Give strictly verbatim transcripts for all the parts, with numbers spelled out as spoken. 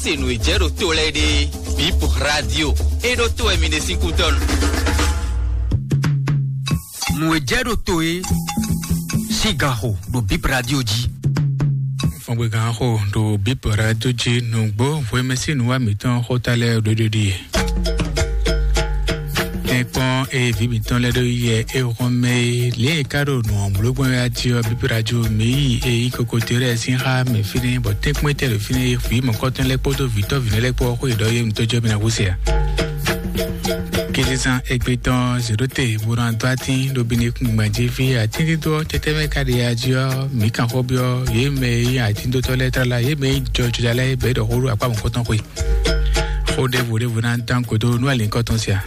Se nǔ e jɛ ɖo to lɛ́ɛ ɖe, Bip Radio. E ɖo to wɛ mi ɖe sín kútɔ́nu. Nǔ e jɛ ɖo to e sín gan xo ɖo Bip Radio jí. Fɔngbe gan xo ɖo Bip Radio jí. Nǔgbó hwemɛsín nǔwa mǐtɔn xóta lɛ́ɛ ɖo ɖiɖi. Tɛ́nkpɔ́n e vǐ mǐtɔn lɛ́ɛ ɖo yɛ é hɔn mɛ é, lě e ka ɖo nǔ ɔ́ bló gbɔn wɛ ati ɔ́, Bíbí Radio mǐ yi e yí kokote lɛ́ɛ sín xá mɛ fínɛ́, bɔ tɛ́nkpɔ́n tɛ ɖo fínɛ́ e hwǐ mɔ̌kɔtɔn lɛ́ɛ kpódó vǐtɔ́ vǐnɔ lɛ́ɛ kpó ɔ́ xó yě ɖɔ yé mǐtɔn jɔ mǐ ná hú se ǎ. Kézezán égbé tɔn zěɖóte bó ná dó atín ɖo bíní kúngban jí fí atín dídó ɔ́ tɛtɛ́ mɛ ka ɖe ají ɔ́, mǐ kan xó byɔ́ yě mɛ e nyí atíndótɔ́ lɛ́ɛ tlala, yě mɛ e nyí jɔjɔja lɛ́ɛ bɛ̌ ɖɔ xó ɖo akpá mɔ̌kɔtɔn xwe. Xó ɖěvo ɖěvo ná dán gǒ dó nú alǐnkɔ tɔn sia.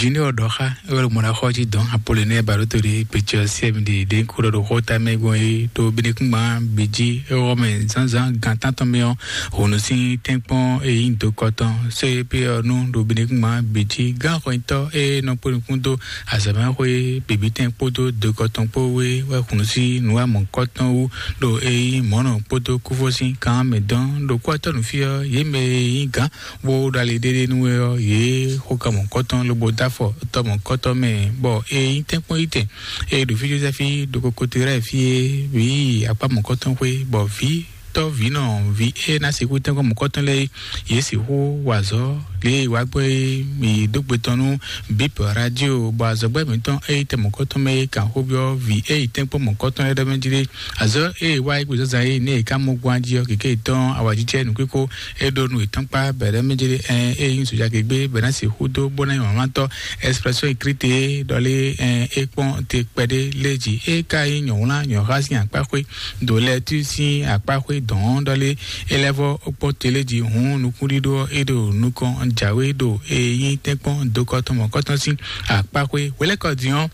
Junior ɖɔ xá é wɛ ɖo mɔ ná xɔ jí dɔn Apolonɛ Baɖótoli Picɔ siɛmɖi ɖě kó ɖɔ ɖo xó tamɛ gbɔn é ɖo Benekúngban bǐ jí é wɔ mɛ zǎnzǎn gan tántɔn mɛ ɔ́, hǔn sín tɛ́nkpɔ́n e nyí dokɔtɔn sɔ́ é pé ɔ́ nú ɖo Benekúngban bǐ jí gán xɔnyitɔ́ e nɔ kpó nukún dó azɔ̌mɛxwé bǐbítɛn kpódó dokɔtɔn kpó wé wɛ hun sí nǔ wa mɔ̌kɔtɔn wú ɖo e nyí mɔ̌nɔ kpódó kúfɔ́sín kan mɛ dɔn ɖo kúwatɔ́ nǔ fí ɔ́, yě mɛ e nyí gǎn bó ɖo ali ɖéɖé nú we ɔ́, yě xo kan mɔ̌kɔtɔn lobo dó afɔ tɔ mɔ̌kɔtɔn mɛ, bɔ e nyí tɛ́nkpɔ́n yí tɛn e ɖo fí Jozɛ́fi ɖo kokote lɛ́ɛ fí é, wǐ akpá mɔ̌kɔtɔn xwé, bɔ vǐ tɔ́ vǐ nɔ vǐ e ná sixú tɛ́nkpɔ́n mɔ̌kɔtɔn lɛ́ɛ é, yě sixú wa azɔ̌ lě e wǎ gbɔ é mi dó gbe tɔn nú Bip Radio, bɔ azɔ̌gbɛ́ mǐtɔn e yi tɛ mɔ̌kɔtɔn mɛ é kan xó byɔ́ vǐ e yi tɛ́nkpɔ́n mɔ̌kɔtɔn lɛ́ɛ ɖɔ mɛ jí ɖé. Azɔ̌ e wa yi gbe zǎnzǎn é nɛ e ka mɔ gbɔn jí ɔ́, kěké tɔn awǎjijɛ nǔkíkó e ɖo nú yětɔn kpá bɛ̌ ɖɔ mɛ jí ɖé. Ɛn e nyí sojagěgbé bɛ̌ ná sixú dó bó ná nyí wǎnmlátɔ́. Expression écrite é ɖɔ lé, ɛn é kpɔ́n te kpɛɖé lé jí é ka nyí nyɔ̌wlán nyɔ̌xá sín akpáxwé ɖo lɛ́ɛ tún sín akpáxwé dɔ̌n ɖɔ lé é lɛ́ vɔ́ kpɔ́n te lé jí hǔn nukúnɖíɖó ɔ́ é ɖo nukɔn jǎwe ɖo e nyí tɛ́nkpɔ́n dokɔtɔn mɔ̌kɔtɔn sín akpáxwé hwelɛ́kɔ din ɔ́.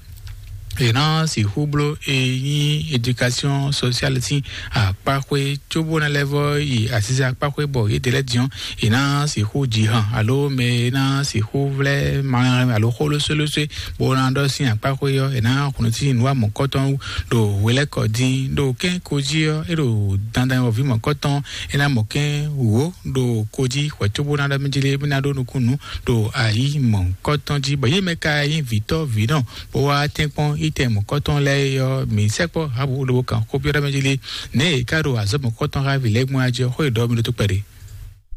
È nǎ sixú bló e nyí éducation sociale sín akpáxwé cóbó ná lɛ́ vɔ́ yi asísa akpáxwé bɔ yědɛɛ lɛ́ɛ din ɔ́, è nǎ sixú ji han alo mɛ e ná sixú vlɛ́ malɛn alo xó lósólósó bó ná ɖɔ sín akpáxwé ɔ́, è nǎ xunú sín nǔ wa mɔ̌kɔtɔn ɖo hwelɛ́kɔ dín ɖo kɛ́n ko jí ɔ́, é ɖo dandan wɔ̌ví mɔ̌kɔtɔn, é ná mɔ kɛ́n wǒ ɖo ko jí hwɛ̌ cóbó ná ɖɔ mɛ jí lé, mí ná ɖó nukúnnú ɖo ayǐ mɔ̌kɔtɔn jí, bɔ yě mɛ ka nyí vǐtɔ́ vǐnɔ bó wá tɛ́nkpɔ́n yi tɛn mɔ̌kɔtɔn lɛ́ɛ é ɔ́, mǐ sɛkpɔ́ Habu lobo kan xó byɔ́ ɖɔ mɛ jí lé, nɛ̌ è ka ɖo azɔ̌ mɔ̌kɔtɔn xá vǐ lɛ́ɛ gbɔn ají ɔ́, xó e ɖɔ mi ɖó tó kpɛɖé.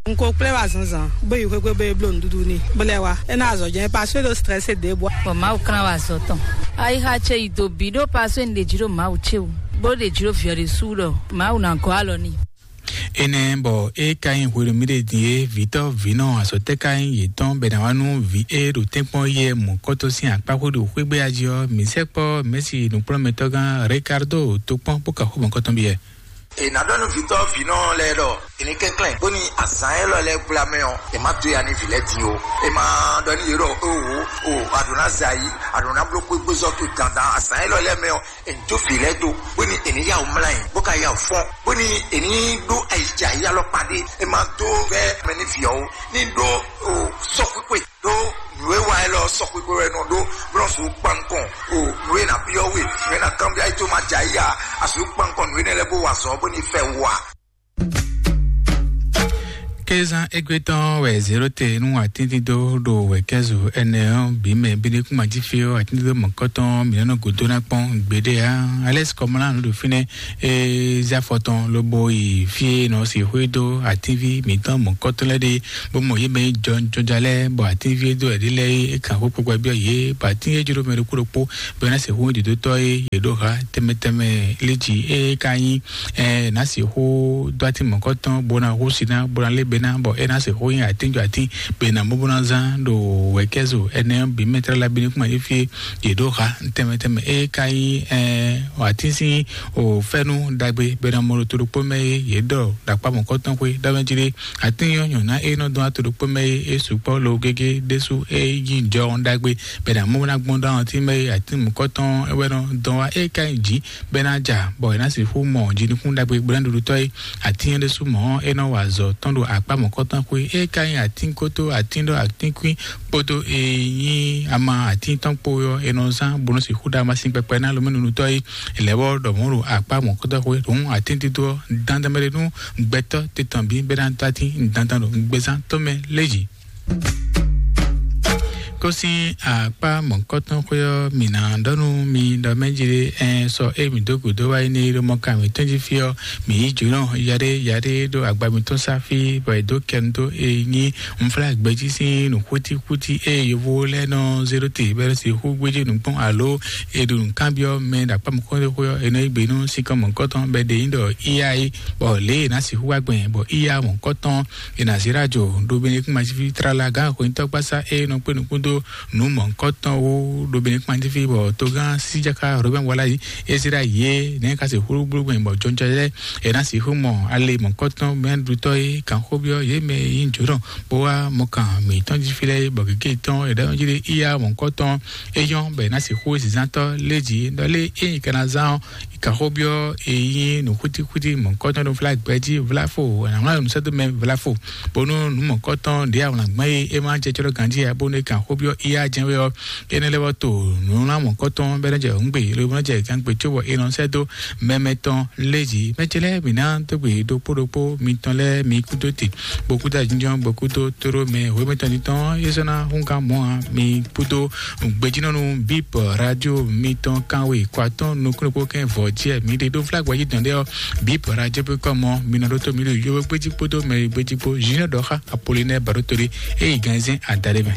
N ko kplé wa zǎnzǎn, bó yi xwé gbe bó yi bló nǔɖuɖu n'i, bó lɛ́ wá. É ná azɔ̌ jɛ́n pasé ɖo strɛ́sé ɖě bɔ. Bɔ Mawu klán wa azɔ̌ tɔn. Ayixa ce yi do bǐ ɖó pasé un ɖe jí ɖo Mawu ce wú, bó ɖe jí ɖo vǐ ɔ́ ɖésú ɖɔ Mawu ná gɔ́ alɔ n'i. Énɛ́ bɔ é ka nyí hwenu mì ɖe din é, vǐtɔ́ vǐnɔ azɔ̌ tɛ́ ka nyí yětɔn bɔ è nǎ wá nú vǐ e ɖo tɛ́nkpɔ́n yɛ mɔ̌kɔtɔn sín akpáxwé ɖo xwé gbé ají ɔ́, mǐ sɛkpɔ́ Mɛ̌si nǔkplɔ́nmɛtɔ́gán Ricardo tokpɔ́n bó ka xó mɔ̌kɔtɔn byɔ́. È nǎ ɖɔ nú vǐtɔ́ vǐnɔ lɛ́ɛ ɖɔ è ní kɛnklɛ́n bóni azǎn élɔ́ lɛ́ɛ gbla mɛ ɔ́, è má dó ya nú vǐ lɛ́ɛ din ó. È ma ɖɔ nú yě ɖɔ: "Owo, o, a ɖǒ ná zɛ ayǐ, a ɖǒ ná bló xwégbézɔ́ towe dandan azǎn élɔ́ lɛ́ɛ mɛ ɔ́, è ní dó vǐ lɛ́ɛ dó, bóni è ní yá wǔ mlá nyi, bó ka yá wǔ fɔ́n, bóni è ní ɖó ayǐjǎyí alɔkpa ɖé. È ma dó vɛ́ mɛ nú vǐ ɔ́ ó, ní ɖó o sɔ́xwíxwe ɖó nǔ e wa élɔ́ sɔ́xwíxwe wɛ nɔ ɖó, bó nɔ sixú kpan nukɔn o nǔ e ná byɔ́ we, nǔ e ná kanbyɔ́ ayí tó ma jɛ ayí a, a sixú kpan nukɔn nǔ énɛ́ lɛ́ɛ bó wa azɔ̌ bóni fɛ wú a." Kézán égbé tɔn wɛ zéro te nú atíndídó ɖo wɛ̌kɛ́zù ɛnɛ ɔ́ bǐ mɛ bídékúnmajífí ɔ́, atíndídó mɔ̌kɔtɔn mǐ nɔ gǒdó ná kpɔ́n gbeɖé ǎ. Alɛ́si kɔmlá nǔ ɖo fínɛ́, é zé afɔ tɔn lobo yi fí e nɔ sixú dó atínví mǐtɔn mɔ̌kɔtɔn lɛ́ɛ ɖe, bó mɔ yě mɛ e jɔ jɔja lɛ́ɛ, bɔ atínví e dó ɛɖí lɛ́ɛ é kan xó kpokpo byɔ́ yě, bɔ atín e jló mɛ ɖokpó ɖokpó bɔ é ná sixú nyí dǒdótɔ́ e yě ɖó ha tɛnmɛ tɛnmɛ lé jí, é ka nyí ɛ ná sixú dó atín mɔ̌kɔtɔn bó ná hú si ná bó ná lé be ná, bɔ é ná sixú nyí atín jɔ atín be ná mɔ bó ná zán ɖo wɛ̌kɛ́zo ɛnɛ bǐ mɛ tlala bí ní kún ma yé fí e yě ɖó ha tɛnmɛ tɛnmɛ. É ka nyí ɛ atín sín o fɛ́nú ɖagbe be ná mɔ ɖo to ɖokpó mɛ é yě ɖɔ ɖo akpá mɔ̌kɔtɔn xwé ɖɔ mɛ jí ɖé. Atín nyɔ́ nyɔ̌ná e nɔ dɔn ato ɖokpó mɛ é, é sukpɔ́ lo gégé ɖésú é yí jɔhɔn ɖagbe bɛ ná mɔ ná gbɔn dó àwọn tí mɛ é, atín mɔ̌kɔtɔn é wɛ nɔ dɔn wá é ka nyi jǐ bɛ ná ja, bɔ é ná sixú mɔ jinukún ɖagbe gblɛ́ ɖuɖutɔ́ é. Atín é ɖésú mɔ̌ é nɔ wa azɔ̌ tɔn ɖo akpá mɔ̌kɔtɔn xwé. É ka nyí atínkótó, atíndɔ, atínkwín kpódó e nyí ama atín tɔn kpó ɔ́, è nɔ zán bó nɔ sixú ɖa amasin kpɛkpɛ ná lomɛ́nunutɔ́ é. È lɛ́ wɔ ɖɔ mɔ̌ ɖo akpá mɔ̌kɔtɔn xwé ɖɔhun atín dídó ɔ́ dandan mɛ ɖé nú gbɛtɔ́ titɔn bǐ bɛ́ ná dó atín dandan ɖo gbɛzán tɔn mɛ léjì. Kó sín akpá mɔ̌kɔtɔn xwé ɔ́, mǐ ná ɖɔ nú mi ɖɔ mɛ jí ɖé, ɛn sɔ é mǐ dó gǔdo wá yi ní ɖo mɔ kan mǐtɔn jí fí ɔ́, mǐ yí jǒnɔ yaɖé yaɖé ɖo agba mǐtɔn sá fí, bɔ è dó kɛnu dó e nyí nflá gbɛjí sín nǔxútíxútí e yovo lɛ́ɛ nɔ zé ɖó te bɔ é nɔ sixú gbéjé nǔkpɔ́n alo è ɖo nǔkanbyɔ́ mɛ ɖo akpá mɔ̌kɔtɔn xwé ɔ́, è nɔ yí gbe nú sinkɔn mɔ̌kɔtɔn bɔ è ɖe nyí ɖɔ iya é, bɔ lě è nǎ sixú wá gbɛn bɔ iya mɔ̌kɔtɔn è nǎ zé ɖó ajo ɖo Benɛkún majíví tlala gǎn xweyǐntɔ́gbasá e nɔ kpé nukún dó nǔ mɔ̌hunkɔtɔn wú ɖo Benɛkún majíví, bɔ togán síjáká Robɛ́n Wala yi é zé ɖó ayǐ é, nɛ̌ ka se xúlúgbúlú gbɛn bɔ jɔnjɔ lɛ́ɛ è nǎ sixú mɔ ale mɔ̌hunkɔtɔn mɛɖutɔ́ e kǎnxóbyɔ́ yě mɛ e nyí jǒnɔ bó wá mɔkan mǐtɔn jí fí lɛ́ɛ é, bɔ gěgé tɔn è ɖɔ jí ɖé iya mɔ̌hunkɔtɔn é nyɔ́ bɔ è nǎ sixú zǐnzántɔ́ lé jǐ ɖɔ lé é nyí ka ná zán ɔ́, Kǎxóbyɔ́ e nyí nǔxútíxútí mɔ̌kɔ́tɔn ɖo Vlagbɛ́ jí Vlafo, è nǎ wlán nǔsɛ́dómɛ Vlafo, bónú nǔ mɔ̌kɔ́tɔn ɖě awlǎngbɛ́n e é ma jɛ jlɔ́ ganjí ǎ, bónú é kan xóbyɔ́ iya jɛ́n wɛ ɔ́, énɛ́ lɛ́ɛ wɛ to nǔwlán mɔ̌kɔ́tɔn bɔ é nɔ jɛ hǔngbe, lobo nɔ jɛ gǎngbe có bɔ è nɔ sɛ́ dó mɛ mɛtɔn lé jí. Mɛ ce lɛ́ɛ mǐ ná dó gbe ɖokpó ɖokpó mitɔn lɛ́ɛ mi kú dó te, bokúta jínjɔ́n bokúdó tóɖó mɛ hwémɛtɔn titɔn é sɔ́ ná húngán mɔ̌ ǎ. Mi kpódó gbejínɔ́nu bíp radio mitɔn kanwe kɔ atɔ́ɔ́n nukúnnukpó kɛ́n vɔ̌ jí ɛ mi ɖe ɖó flágbɛ́ jí dɔn ɖé ɔ́, bíp radio pé kɔmɔ mi nɔ ɖó tó mi ɖo yówó gbéjí kpódó mɛ gbéjí kpó junior dɔxa apolinɛ baɖótolé é yi gánzɛn adaɖé mɛ.